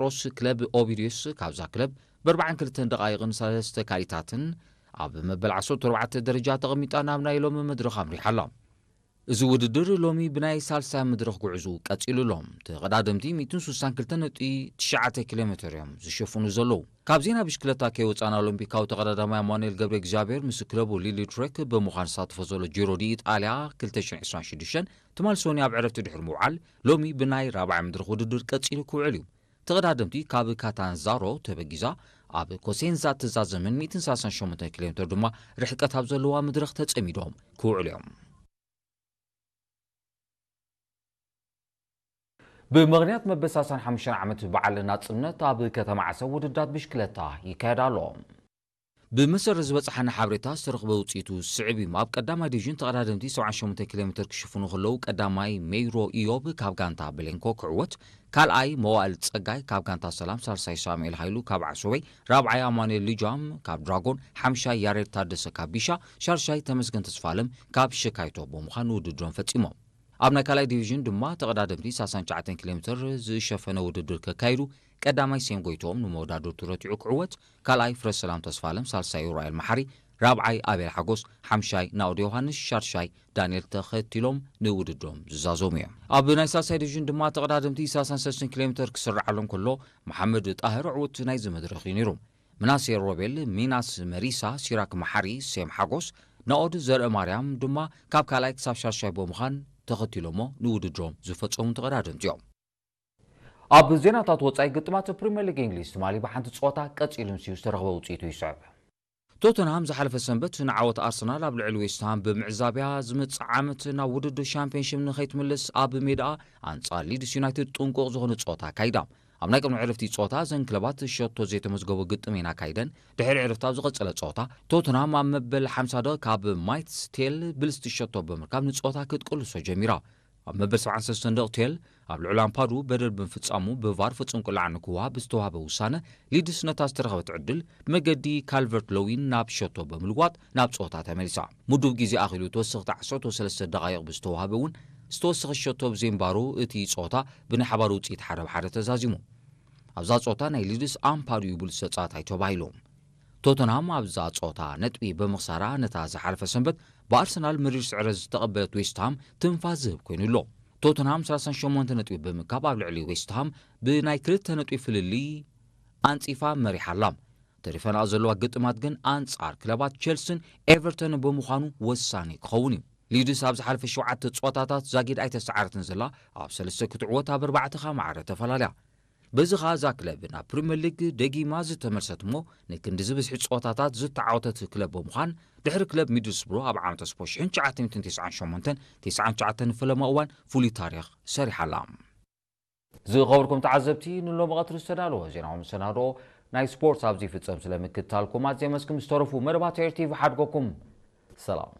ሮስ ክለብ ኦቪዲዮስ ካብዛ ክለብ ብኣርባዓን ክልተን ደቓይቕን ሰለስተ ካልኢታትን ኣብ መበል ዓሰርተ ኣርባዕተ ደረጃ ተቐሚጣ ናብ ናይ ሎሚ መድረኽ ኣምሪሓ ኣላ። እዚ ውድድር ሎሚ ብናይ ሳልሳይ መድረኽ ጉዕዞ ቀጺሉ ኣሎ። ተቐዳደምቲ ሚእትን ስሳን ክልተን ነጥቢ ትሽዓተ ኪሎ ሜተር እዮም ዝሸፍኑ ዘለዉ። ካብ ዜና ብሽክለታ ከይወጻና፣ ኦሎምፒካዊ ተቐዳዳማይ ኣማኑኤል ገብረ እግዚኣብሔር ምስ ክለቡ ሊሊ ትሬክ ብምዃን ዝሳተፎ ዘሎ ጂሮ ዲ ኢጣልያ ክልተ ሽሕን ዕስራን ሽዱሽተን ትማል ሰኑይ ኣብ ዕረፍቲ ድሕሪ ምውዓል፣ ሎሚ ብናይ ራብዓይ መድረኽ ውድድር ቀጺሉ ክውዕል እዩ። ተቐዳደምቲ ካብ ካታንዛሮ ተበጊዛ ኣብ ኮሴንዛ እትዛዘምን ሚእትን ሰላሳን ሸሞንተን ኪሎ ሜተር ድማ ርሕቀት ኣብ ዘለዋ መድረኽ ተጸሚዶም ክውዕሉ እዮም። ብምኽንያት መበል ሰላሳን ሓሙሽተን ዓመት በዓል ናጽነት ኣብ ከተማ ዓሰብ ውድድራት ብሽክለታ ይካየድ ኣሎ። ብመሰረት ዝበጽሓና ሓበሬታ ዝተረኽበ ውጽኢቱ ስዕብ እዩ። ኣብ ቀዳማይ ዲቪዥን ተቐዳደምቲ ሰብዓን ሸሞንተን ኪሎ ሜተር ክሽፍኑ ከለዉ፣ ቀዳማይ ሜይሮ ኢዮብ ካብ ጋንታ ብሌንኮ ክዕወት፣ ካልኣይ መዋእል ጸጋይ ካብ ጋንታ ሰላም፣ ሳልሳይ ሳሙኤል ሃይሉ ካብ ዓሶበይ፣ ራብዓይ ኣማኑኤል ልጃም ካብ ድራጎን፣ ሓምሻይ ያሬድ ታደሰ ካብ ቢሻ፣ ሻርሻይ ተመስገን ተስፋለም ካብ ሸካይቶ ብምዃን ውድድሮም ፈጺሞም። ኣብ ናይ ካልኣይ ዲቪዥን ድማ ተቐዳደምቲ ሰላሳን ትሽዓተን ኪሎ ሜተር ዝሸፈነ ውድድር ከካይዱ፣ ቀዳማይ ሴም ጎይትኦም ንመወዳድርቱ ረቲዑ ክዕወት፣ ካልኣይ ፍረሰላም ተስፋለም፣ ሳልሳይ ኡራኤል መሓሪ፣ ራብዓይ ኣቤል ሓጎስ፣ ሓምሻይ ናኦድ ዮሃንስ፣ ሻርሻይ ዳንኤል ተኸቲሎም ንውድድሮም ዝዛዘሙ እዮም። ኣብ ናይ ሳልሳይ ዲቪዥን ድማ ተቐዳደምቲ ሰላሳን ሰለስተን ኪሎ ሜተር ክስርዓሎም ከሎ፣ መሓመድ ጣህር ዕውት ናይዚ መድረኽ እዩ ነይሩ። ምናሴ ሮቤል፣ ሚናስ መሪሳ፣ ሲራክ መሓሪ፣ ሴም ሓጎስ፣ ናኦድ ዘርአ ማርያም ድማ ካብ ካልኣይ ክሳብ ሻርሻይ ብምዃን ተኸቲሎሞ ንውድድሮም ዝፈጸሙ ተቐዳደምቲ እዮም። ኣብ ዜናታት ወጻኢ፣ ግጥማት ፕሪምየር ሊግ እንግሊዝ ትማሊ ብሓንቲ ጸወታ ቀጺሉ ምስዩ ዝተረኽበ ውጽኢቱ ይስዕብ። ቶተንሃም ዝሓለፈ ሰንበት ንዓወት ኣርሰናል ኣብ ልዕሊ ዌስትሃም ብምዕዛብያ፣ ዝመጽእ ዓመት ናብ ውድድር ሻምፒዮንሺፕ ንኸይትምልስ ኣብ ሜዳኣ ኣንጻር ሊድስ ዩናይትድ ጥንቁቕ ዝኾነ ጸወታ ኣካይዳ። ኣብ ናይ ቅድሚ ዕረፍቲ ጸወታ እዘን ክለባት ሸቶ ዘይተመዝገቦ ግጥም እየን ኣካይደን። ድሕሪ ዕረፍቲ ኣብ ዝቐጸለ ጸወታ፣ ቶተንሃም ኣብ መበል ሓምሳ ደቂቕ ካብ ማይትስ ቴል ብልስቲ ሸቶ ብምርካብ ንጸወታ ክትቅልሶ ጀሚራ። ኣብ መበል ሰብዓን ሰለስተን ደቂቕ ቴል ኣብ ልዕሊ ኣምፓዱ በደል ብምፍጻሙ ብቫር ፍጹም ቅላዕ ንክወሃብ ብዝተዋህበ ውሳነ፣ ሊድስ ነታ ዝተረኸበት ዕድል ብመገዲ ካልቨርት ሎዊን ናብ ሸቶ ብምልዋጥ ናብ ጸወታ ተመሊሳ። ምዱብ ግዜ ኣኺሉ ተወሰኽቲ ዓሰርተ ሰለስተ ደቓይቕ ብዝተዋህበ እውን ዝተወሰኸ ሸቶ ብዘይምባሩ እቲ ጸወታ ብናይ ሓባር ውጽኢት ሓደ ብ ሓደ ተዛዚሙ። ኣብዛ ጸወታ ናይ ሊድስ ኣምፓዱ እዩ ብሉጽ ተጻዋታይ ተባሂሉ። ቶተንሃም ኣብዛ ጸወታ ነጥቢ ብምኽሳራ ነታ ዝሓለፈ ሰንበት ብኣርሰናል መሪር ስዕረት ዝተቐበለት ዌስትሃም ትንፋስ ዝህብ ኮይኑ ኣሎ። ቶተንሃም ሰላሳን ሸሞንተ ነጥቢ ብምእካብ ኣብ ልዕሊ ዌስትሃም ብናይ ክልተ ነጥቢ ፍልልይ ኣንጺፋ መሪሓ ኣላ። ተሪፈንኣ ዘለዋ ግጥማት ግን ኣንጻር ክለባት ቸልስን ኤቨርተንን ብምዃኑ ወሳኒ ክኸውን እዩ። ሊድስ ኣብ ዝሓለፈ ሸውዓተ ጸወታታት ዛጊድ ኣይተሰዓረትን ዘላ፣ ኣብ ሰለስተ ክትዕወት ኣብ ኣርባዕተ ከኣ ማዕረ ተፈላለያ። በዚ ኸኣ እዛ ክለብ ናብ ፕሪምየር ሊግ ደጊማ ዝተመልሰት እሞ ንክንዲ ዝብዝሒ ጸወታታት ዝተዓወተት ክለብ ብምዃን ድሕሪ ክለብ ሚድልስብሮ ኣብ ዓመተ ስፖርት ሽሕን ትሽዓተ ሚእትን ተስዓን ሸሞንተን ተስዓን ትሽዓተን ንፈለማ እዋን ፍሉይ ታሪኽ ሰሪሓ ኣላ። ዝኸበርኩም ተዓዘብቲ፣ ንሎሚ ቀትሪ ዝተዳለወ ዜናዊ መሰናድኦ ናይ ስፖርት ኣብዚ ይፍጸም። ስለ ምክትታልኩም ኣዝየ መስግን። ዝተረፉ መደባት ኤር ቲቪ ሓድጎኩም። ሰላም።